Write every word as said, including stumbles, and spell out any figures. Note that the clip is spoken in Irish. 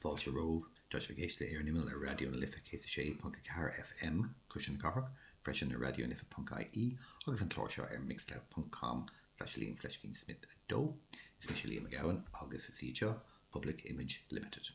Fáilte romhaibh, tá sibh ag éisteacht le Ar an Imeall ar Raidió na Life céad a sé ponc a ceathair F M Cuisle na Cathrach, freisin ar Raidió na Life ponc I E agus an clár seo ar mixcloud ponc com slash Liam Fleiscín Smith a dó. Is mise Liam Mac Gabhann agus is iad seo Public Image Limited.